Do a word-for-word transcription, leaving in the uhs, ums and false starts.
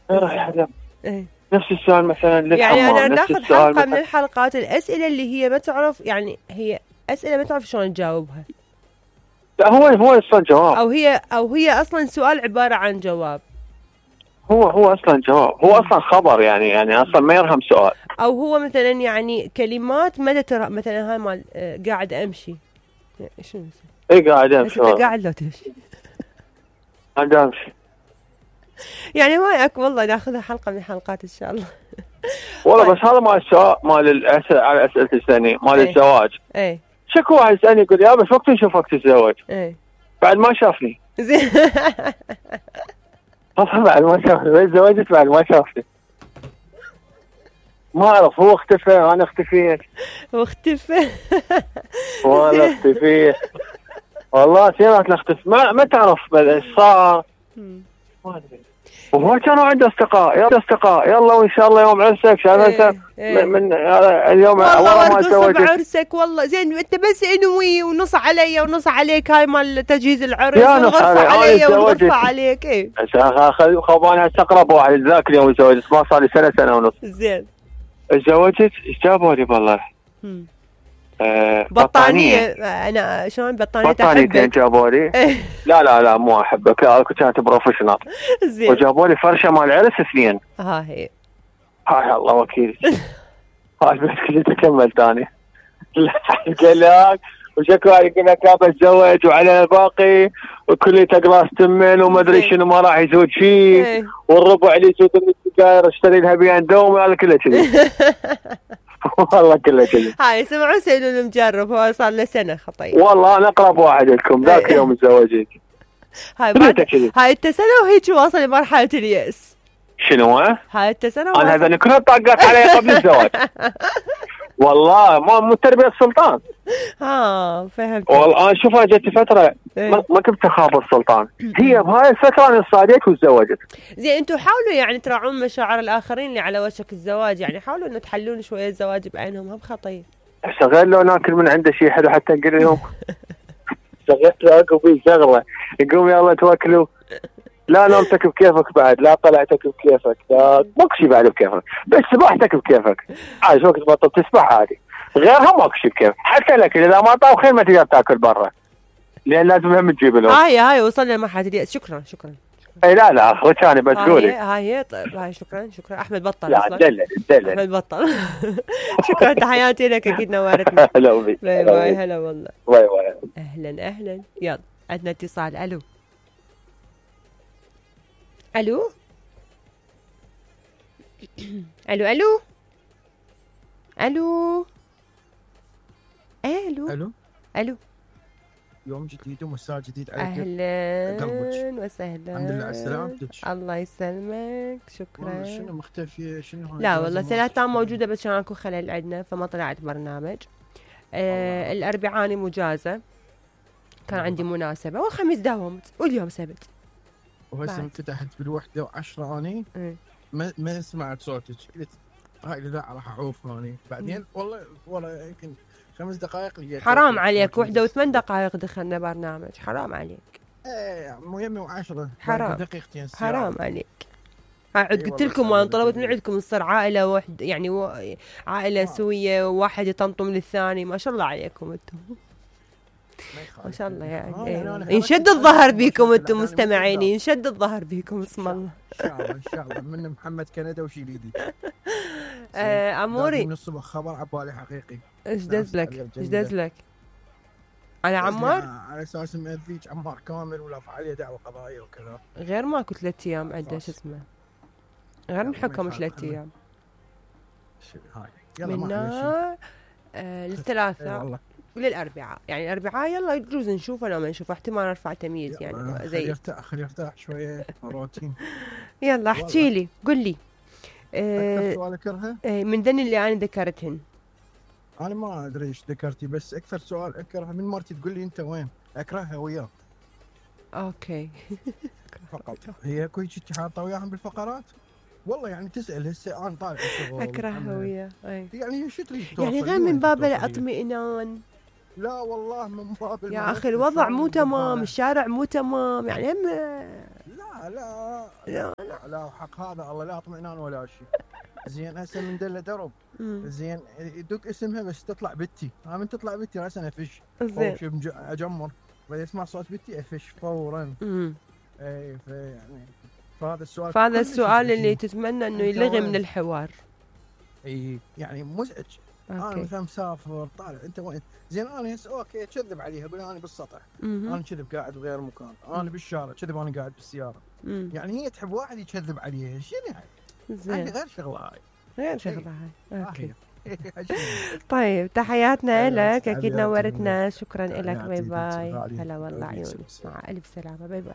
ما راح يحلم. ايه نفس السؤال مثلا يعني للحمام، انا نفس ناخذ السؤال حلقه من مثلا. الحلقات الاسئله اللي هي ما تعرف، يعني هي اسئله ما تعرف شلون تجاوبها، لا هو هو اصلا جواب، او هي او هي اصلا سؤال عباره عن جواب، هو هو اصلا جواب، هو اصلا خبر يعني يعني اصلا ما يرهم سؤال. او هو مثلا يعني كلمات متى ترى مثلا هاي مال آه، قاعد امشي، شنو اي قاعد بس انت امشي، قاعد لو تمشي قاعد امشي. يعني ما اك والله ناخذها حلقه من الحلقات ان شاء الله. والله طيب. بس هذا مال السؤال مال الاسئله على اسئله السنه مال ايه. الزواج. ايه شكو واحد يسالني يقول يا بس وقت نشوفك تتزوج؟ ايه بعد ما شافني. زين طبعا بعد ما شافني، بس تزوجت بعد ما شافني. ما اعرف، هو اختفى انا اختفيت. واختفى والله اختفيت، والله سيرات نختفي، ما ما تعرف ايش صار. ما ادري. وهو كانوا عنده اصدقاء، يلا اصدقاء يلا وان شاء الله يوم عرسك شايف انت إيه. من اليوم والله ورا ما ورقص تزوجت بعرسك والله زين، انت بس انوي ونص علي ونص عليك، هاي مال تجهيز العرس يا نص والغرفه علي، علي أنا والغرفه تزوجت. عليك. ايه خباني استقرب واحد ذاك اليوم تزوجت، ما صار لي سنه سنه ونص. زين تزوجت ايش جابوا لي والله؟ آه بطانيه. انا شلون بطانيه بطانيتين احبك جابوا لي. لا لا لا مو احبك، لا كانت بروفيشنال. زين وجابوا لي فرشه مال عرس اثنين. ها هي هاي الله وكيل. هاي البيت كله تكمل ثاني. قال لك وشكو يقول لك لا بتزوج وعلى الباقي وكل تقراص تمن وما ادري شنو، ما راح يزود شيء، والربع اللي يسود من السجاير اشتري لها بيان دوم، هذا كله كذي. والله كله كذي. هاي سمعوا سيدو المجرب، هو صار له سنه خطير. والله انا اقرب واحد لكم ذاك يوم تزوجت. هاي بعد هاي التسنه وهيك واصل لمرحله الياس. شنو ها؟ هاي التسنه انا هذا كلها طاقات علي قبل الزواج. والله ما مو تربيه السلطان. ها فهمت. والله انا شوف انا جت فتره ما, ما كنت اخاف السلطان، هي بهاي الفتره انا صاديت وتزوجت. زين انتم حاولوا يعني تراعون مشاعر الاخرين اللي على وشك الزواج، يعني حاولوا انه تحلون شويه الزواج بعينهم، هم خطير. هسه غير لو ناكل من عنده شيء حلو حتى نقول لهم شغلت له بي شغله يقوم يلا توكلوا، لا نومتك بكيفك بعد، لا طلعتك بكيفك، لا ماكو شيء بعد بكيفك، بس سباحتك بكيفك عادي، وقت ما تسبح عادي، غيرها ماكو شيء بكيفك. حتى الاكل اذا ما طاوخين ما تقدر تاكل برا، لان لازم هم تجيب لهم. هاي هاي وصلنا لمرحله الياس. شكرا شكرا. اي لا لا اخوك انا بس قولي. هاي هي طيب هاي شكرا شكرا. احمد بطل لا دلل دلل. احمد بطل. شكرا تحياتي لك، اكيد نورتنا. هلا بي. باي باي. هلا والله. باي باي. اهلا اهلا. يلا عندنا اتصال. الو الو الو الو الو الو الو الو. يوم جديد ومساء جديد عليك. اهلا وسهلا. الحمد لله على سلامتك. الله يسلمك. شكرا. شنو مختفيه شنو؟ لا والله ثلاثة موجوده بس كان اكو خلل عندنا فما طلعت برنامج. آه الاربعاء مجازه، كان عندي مناسبه، والخميس داومت واليوم سبت. وهسه انفتحت بالوحده وعشرة اني م. ما ما سمعت صوتك، قلت هاي لا راح اعوف هوني بعدين. م. والله والله يمكن خمس دقائق لقيت. حرام عليك، وحده وثمان دقائق دخلنا برنامج، حرام عليك. ايه مو يمي وعشرة حرام دقيقتين. حرام عليك. عاد قلت لكم وانا طلبت من عندكم تصير عائله واحد، يعني و... عائله آه. سويه، وواحد يطنطم للثاني. ما شاء الله عليكم انتم، ما شاء الله يعني. آه يعني ينشد الظهر بيكم انتم مستمعين، ينشد الظهر بيكم اسم الله. ان شاء الله ان شاء الله. من محمد كندا وشيليدي. آه اموري من الصبح خبر عبالي حقيقي. ايش دز لك ايش دز لك على عمار؟ على اساس مأذيك عمار كامل ولا فعاليه دعوه قضائيه وكذا. غير ماكو ثلاث ايام عنده شو اسمه، غير نحكم ثلاث ايام يلا من آه للثلاثاء وللاربعاء، يعني الاربعاء يلا يجوز نشوفه لو ما نشوفه احتمال ارفع تمييز يعني زي يرتاح خلي يرتاح شويه روتين. يلا احكي لي قل لي. اكثر سؤال اكرهه من ذن اللي انا ذكرتهن. انا ما ادري ايش ذكرتي، بس اكثر سؤال اكرهه من مرتي تقول لي انت وين، اكرهها وياه. اوكي. فقط هي كل شيء حاطه وياهم بالفقرات. والله يعني تسال هسه انا طالع الشغل اكرهها وياه. يعني شو تريد يعني غير من باب الاطمئنان. لا والله من باب يا اخي الوضع مو تمام، الشارع مو تمام يعني هم. لا لا لا لا لا, لا حق هذا الله لا اطمئنان ولا شيء. زين هسه من دله درب مم. زين يدق اسمها بس تطلع بنتي، ها من تطلع بنتي راسا افش زين. شوف اجمر بعدين اسمع صوت بنتي افش فورا. امم اي يعني فهذا السؤال فهذا كلش السؤال اللي يزعجني. تتمنى انه أنت يلغي وين؟ من الحوار. اي يعني مزعج. انا اوكي. مثلا مسافر طالع انت وين؟ زين انا هسه اوكي كذب عليها اقول انا بالسطح، مهم. انا كذب قاعد بغير مكان، انا بالشارع كذب انا قاعد بالسياره. مم. يعني هي تحب واحد يكذب عليها شنو يعني؟ هاي زين. غير شغله هاي. غير شغله هاي. اوكي. اوكي. طيب تحياتنا هلا لك، اكيد حياتي نورتنا، شكرا لك، باي حياتي، باي. غالي. هلا والله غالي. عيوني، مع الف سلامه، باي باي.